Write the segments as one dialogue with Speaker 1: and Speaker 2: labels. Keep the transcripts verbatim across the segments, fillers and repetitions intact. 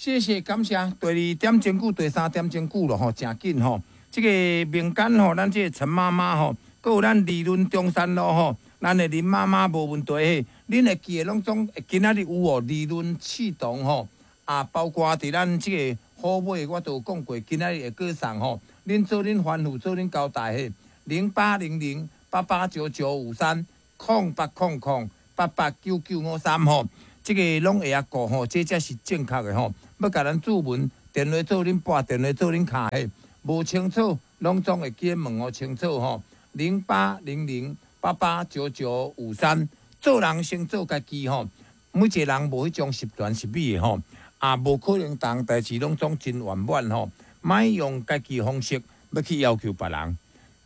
Speaker 1: 謝謝感謝。第二點鐘久，第三點鐘久咯吼，誠緊吼。這個民間吼，咱這個陳媽媽吼，閣有咱利潤中山路吼，咱的林媽媽無問題嘿。恁會記得攏總今仔日有哦，利潤刺桐吼，啊，包括佇咱這個虎尾，我都有講過，今仔日會閣送吼。恁做恁吩咐，做恁交代嘿。零八零零八八九九五三，空八空空八八九九五三吼。這個攏會曉顧吼，這才是正確的吼。欲共咱注文，電話做恁撥，電話做恁敲嘿。無清楚，攏總會記得問予清楚吼。零八零零八八九九五三，做人先做家己吼。每一個人無彼種十全十美的吼，也無可能逐項代誌攏總真圓滿吼。莫用家己方式欲去要求別人。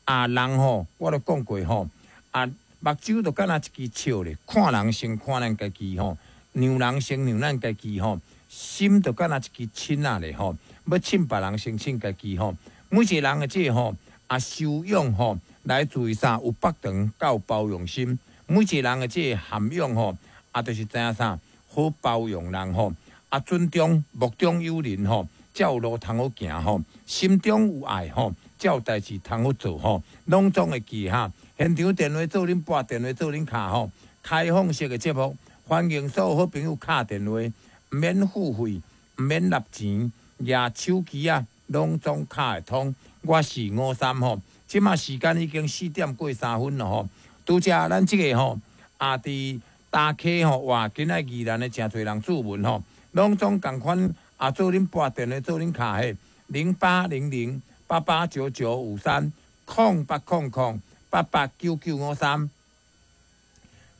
Speaker 1: 啊，人吼，我都講過吼，啊，目睭就敢若一支笑咧，看人先看咱家己吼，讓人先讓咱家己吼，心就敢若一支秤仔咧吼，欲稱別人先稱家己吼。每一個人的這個吼，啊修養吼，來自於啥？有腹腸佮包容心。每一個人的這個涵養吼，啊，就是知影啥？好包容人吼，啊，尊重目中有人吼，才有路通好行吼。心中有愛吼，才有代誌通好做吼。攏總會記哈。現場電話做恁撥，電話做恁敲吼。開放式的節目，歡迎所有好朋友敲電話，毋免付費，毋免納錢，舉手機仔，攏總敲會通。我是吳三吼，這馬時間已經四點過三分了吼。拄才咱這個吼，啊，佇大溪吼，哇，今仔宜蘭的誠濟人注文吼，攏總仝款啊，做恁撥電話，做恁敲嘿，零八零零八八九九五三，空八空空八八九九五三，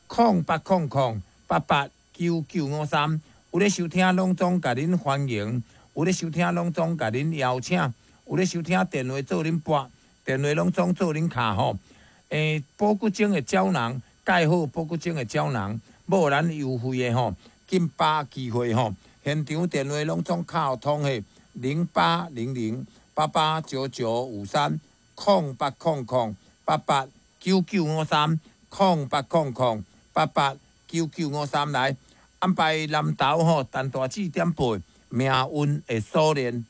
Speaker 1: 空八空空八八九九五三，有咧收聽，攏總共恁歡迎；有咧收聽，攏總共恁邀請；有咧收聽，電話做恁撥，電話攏總做恁敲吼。欸，保骨精的膠囊，蓋好保骨精的膠囊，無咱優惠的吼，緊把握機會吼。現場電話攏總敲通的零八零零八八九九五三，空八空空八八九九五三，空八空空八八九九五三來安排南投吼，陳大姊點播命運的鎖鏈。